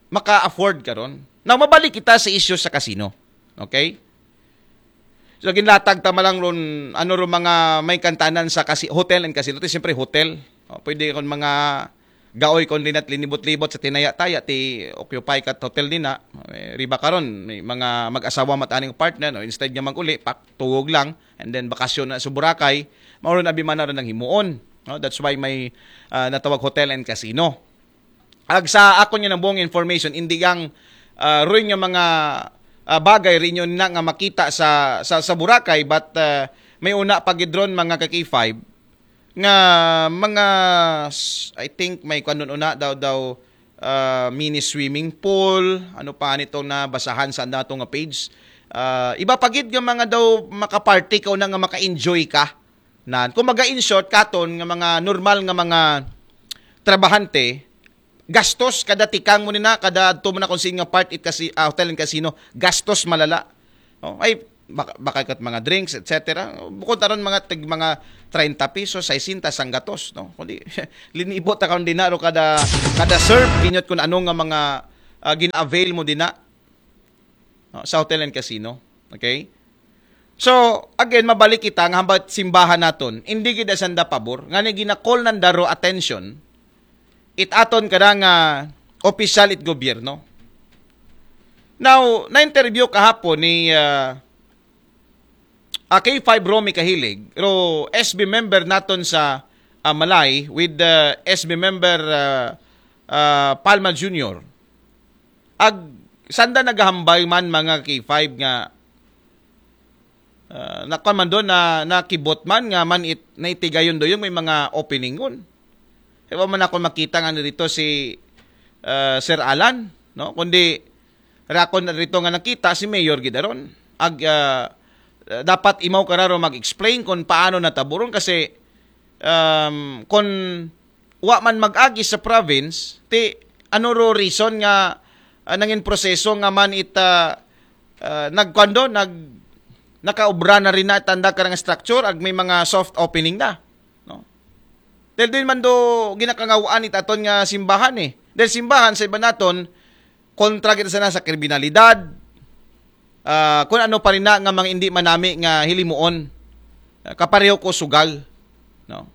maka-afford karon. Now, mabalik kita sa issue sa kasino. Okay? So, ginlatag ta malang ron, ano ron mga may kantanan sa kasi, hotel and casino. Ito, siyempre, hotel. O, pwede kon mga gaoy kon dinat linibot-libot sa tinaya-taya, ti occupy kat hotel din na. Eh, riba karon, may mga mag-asawa mat aning partner, no? Instead nga mag-uli, pak, tuwog lang, and then bakasyon na sa Boracay, mauron abi man na ron ang himuon. No? That's why may ah, natawag hotel and casino. Ag sa akon nga nabuong information, hindi ang ah, ruin nga mga ah, bagay rin yun na nga makita sa sa, sa Boracay, but ah, may una pagidron mga ka K five nga mga s- I think may kanun una daw daw ah, mini swimming pool, ano pa nitong nabasahan sa nato nga page. Ah, iba pa gid nga mga daw maka-party ka una nga maka-enjoy ka. Nan, kung maga in short katon nga mga normal nga mga trabahante, gastos kada tikang mo nina, kada adto mo na kung sino nga part it kasi ah, hotel and casino, gastos malala. Oh, ay baka, baka kat mga drinks, et cetera. Bukod aron mga tig mga treinta pesos, sesenta, sanggatos, no? Kundi linibot ta karon dinaro kada kada serve ginyot kung ano nga mga ah, gina-avail mo dina no? Sa hotel and casino. Okay? So, again, mabalik kita nga hambat simbahan naton. Hindi gid sanda pabor. Nga ni gina-call nanda ro attention, it aton kada nga opisyal it gobyerno. Now, na-interview kahapon ni ah, ah, K five Romy Kahilig, ro S B member naton sa ah, Malay with the S B member ah, ah, Palma Junior. Ag sanda nagahambay man mga K five nga ah, nakuan man doon na nakibot man nga man it, naitigayon doon may mga opening ngon. Kaya man ako makita nga dito si ah, Sir Alan, no? Kundi rakon na dito nga nakita si Mayor Gidaron. Ag ah, dapat imaw kararo mag-explain kung paano nataburon kasi um, kung wa man mag-agi sa province, ti ano ro reason nga ah, nangin proseso nga man it ah, ah, nagkuan do, nag nakaobra na rin na tanda karang structure ag may mga soft opening na, no? Dahil din man do ginakangawaan it aton nga simbahan eh. Dahil simbahan sa iba naton, kontra kita sana sa kriminalidad, ah, kung ano pa rin na nga mga hindi manami nga hilimuon, ah, kapareho ko sugal, no?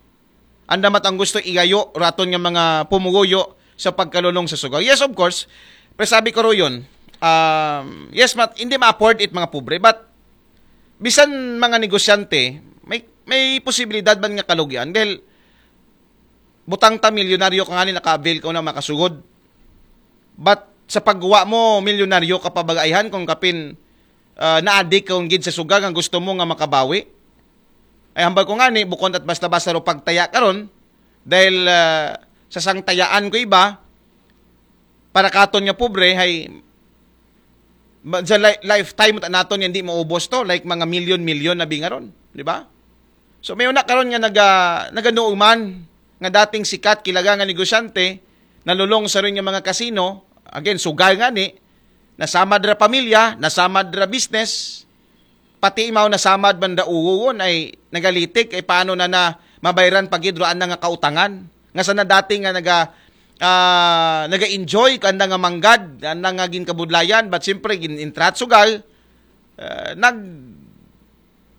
Anda mat ang gusto igayo raton nga mga pumuguyo sa pagkalulong sa sugal. Yes, of course. Pero sabi ko ro yun, um, yes, mat, hindi ma-afford it mga pobre, but bisan mga negosyante, may may posibilidad man nga kalugian dahil butang ta milyonaryo ka nga ni naka-avail ka na makasugod. But sa pagguwa mo, milyonaryo ka pabagaihan kung kapin ah, naadik kung gid sa sugal nga gusto mo nga makabawi. Ay hambal ko nga ni, bukon at basta-basta ro pagtaya karon dahil ah, sa sangtayaan ko iba, para katon nga pobre, hay ma- sa li- lifetime ta naton nga hindi maubos to, like mga milyon-milyon na bingaron, di ba? So may una karon nga naga naganuuman nga dating sikat kilaga nga negosyante, nalulong sa rin nga mga kasino, again sugal nga ni, nasamad ra pamilya, nasamad ra business, pati imaw nasamad man da uwon ay nagalitik ay paano na na mabayran pagidroan na nga kautangan nga sana dati nga naga ah, naga-enjoy kanda nga manggad, kanda nga ginkabudlayan, but siyempre gin-intrat sugal, ah, nag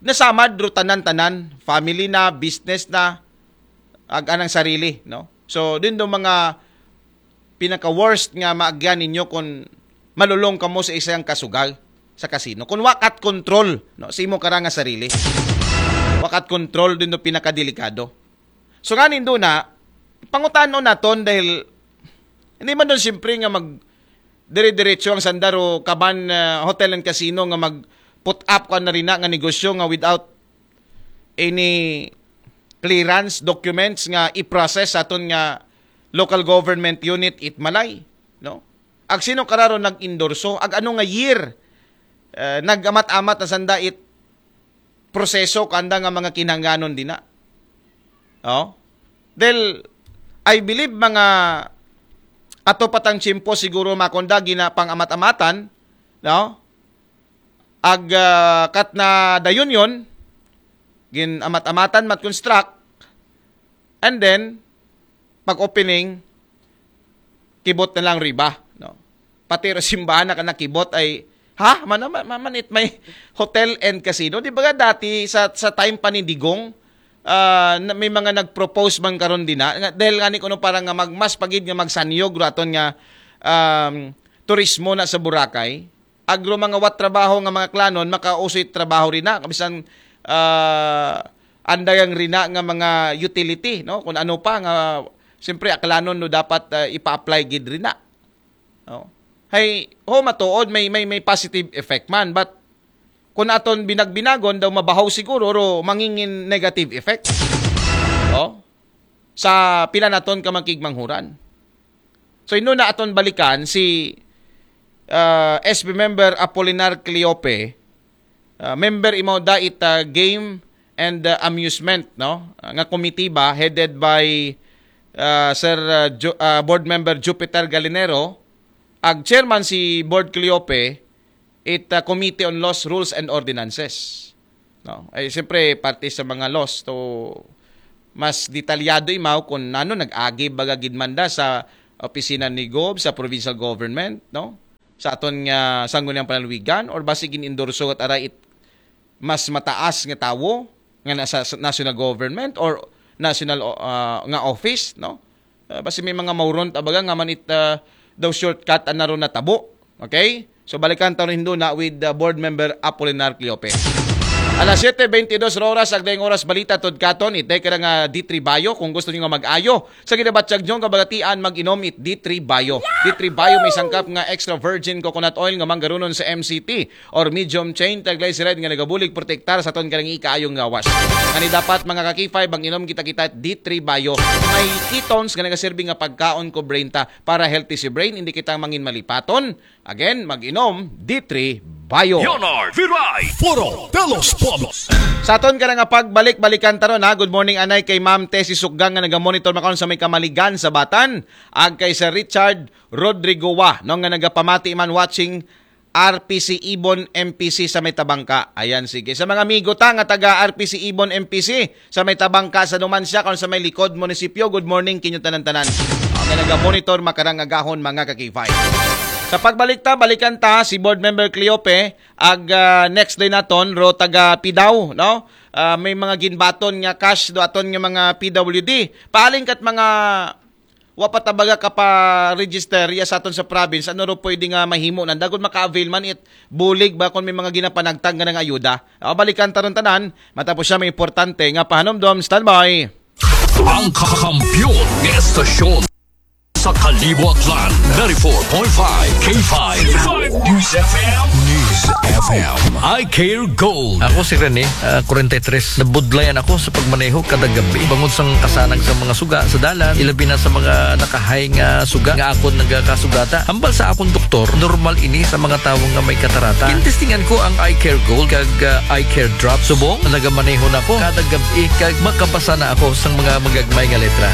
nasamad ro tanan-tanan, family na, business na, ag anang sarili, no? So din do mga pinaka worst nga maagyan ninyo kung malulong kamo sa isang kasugal sa kasino. Kung wakat control, no, sa imo kara nga sarili. Wakat control din do pinakadelikado. So nga nindo na, pangutanon naton dahil hindi man doon siyempre nga mag dire-diretso ang sandaro kaban ah, hotel and casino nga mag put up ka na rin na nga negosyo nga without any clearance documents nga i-process sa aton nga local government unit it Malay, no? Ag sino kararo nag-endorso, ag ano nga year eh, nag-amat-amat na sanda it proseso kanda nga mga kinahanglanon dina. Oh? Del I believe mga ato patang tiyempo siguro makunda gina pang-amat-amatan, no? Ag ah, kat na dayon yon, gin amat-amatan mat construct, and then pag opening kibot na lang riba, no? Pati ro simbahan na nakibot ay ha man man it may hotel and casino, di ba dati sa sa time pa ni Digong ah, na- may mga nag-propose man karon din na nga- dahil nga ni kuno para nga magmas pagid nga magsanyog raton nga um, turismo na sa Boracay, agro mga wat trabaho nga mga klanon makausoy trabaho rin na kabisan ah, andayang rina nga mga utility, no? Kung ano pa nga siyempre aklanon no dapat ah, ipa-apply gid rina, no? Hay ho matuod may may may positive effect man, but kung aton binagbinagon daw mabahaw siguro ro mangingin negative effect, no? Sa pila naton ka makigmanghuran. So ino na aton balikan si ah, S B member Apolinar Cleope ah, member imaw da it, ah, Game and, ah, Amusement, no? Ah, nga komitiba headed by, ah, Sir, ah, Ju- ah, Board Member Jupiter Galinero, ag chairman si Board Cleope, it, ah, Committee on Laws, Rules and Ordinances. No? Ay, siyempre, parte sa mga laws to mas detalyado imaw kung nano nag-agi baga gid man da sa opisina ni Gov, sa provincial government, no? Sa aton nga sangguniang panalwigan, or basi gin-endorso at aray it mas mataas nga tawo nga nasa s- national government or national, ah, nga office, no? Ah, basi may mga mauron ta baga nga man it, ah, daw shortcut an naron natabo. Okay? So balikan ta rin hindo na with, ah, Board Member Apolinar Cleope. Alas siyete bentidós oras, agdayng oras balita tod katon, itay ka nga D three Bayo. Kung gusto niyo nga mag-ayo sa ginabatyag niyo nga bagatian, mag-inom it D three Bayo. D three Bayo may sangkap nga extra virgin coconut oil nga manggarunon sa M C T or medium chain triglyceride nga nagabulig protektar sa aton karang ikaayong gawas. Ngani dapat, mga ka-K five, mag-inom kita-kita D three Bayo. May ketones nga nagaserbi nga pagkaon ko brain ta para healthy si brain, hindi kita mangin malipaton. Again, mag-inom D three Bayo. Leonard Viray, Foro de los Pueblos. Sa aton ka nga pagbalik-balikan taron ha. Good morning anay kay Ma'am Tessie Sukgang nga naga-monitor makaon sa may Kamaligan sa Batan. Ag kay Sir Richard Rodrigoa, no, nga nagapamati man watching R P C Ibon M P C sa may Tabangka. Ayan, sige. Sa mga amigo ta nga taga R P C Ibon M P C sa may Tabangka, sa Numancia, kung sa may Likod Munisipyo, good morning kinyo tanan-tanan. Ang nga naga-monitor makarang agahon, mga ka-K five. Sa pagbalik ta, balikan ta si Board Member Cleope, ag, ah, next day naton, ro taga Pidaw, no? Ah, may mga ginbaton nga cash do aton nga mga P W D. Paaling kat mga wa pa tabaga ka pa register ya sa aton sa province, ano ro pwede nga mahimo nanda kun maka-avail man it bulig ba kun may mga ginapanagtag nga nang ayuda? O, balikan taron tanan, matapos siya may importante nga pahanumdom. Standby. Ang kakampiyon ng estasyon sa Kalibo Aklan, ninety-four point five K five News F M. News F M. I Care Gold. Ako si Rene, ah, forty-three. Nabudlayan ako sa pagmaneho kada gabi. Bangod sang kasanag sa mga suga sa dalan, ilabi na sa mga nakahay nga suga nga akon nagakasugata. Hambal sa akon doktor, normal ini sa mga tawo nga may katarata. Gintestingan ko ang Eye Care Gold kag, ah, Eye Care Drop. Subong, nagamaneho na ko kada gabi kag makabasa na ako sang mga magagmay nga letra.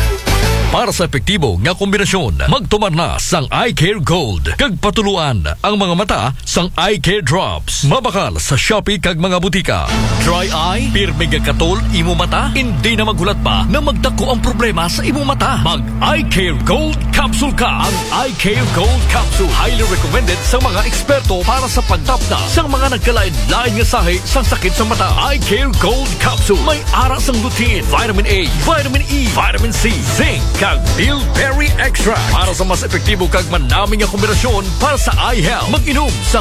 Para sa epektibo nga kombinasyon, magtumar na sang Eye Care Gold kag patuluan ang mga mata sang Eye Care Drops. Mabakal sa Shopee kag mga butika. Dry eye, pirmi nga katol imo mata, hindi na maghulat pa na magdako ang problema sa imo mata. Mag Eye Care Gold Capsule ka. Ang Eye Care Gold Capsule highly recommended sa mga eksperto para sa pagtapna sa mga nagkalain-lain nga sahi sa sakit sa mata. Eye Care Gold Capsule may ara sang lutein, vitamin A, vitamin E, vitamin C, zinc, kag bilberry extract para sa mas epektibo kag manami nga kombinasyon para sa eye health. Mag-inom sa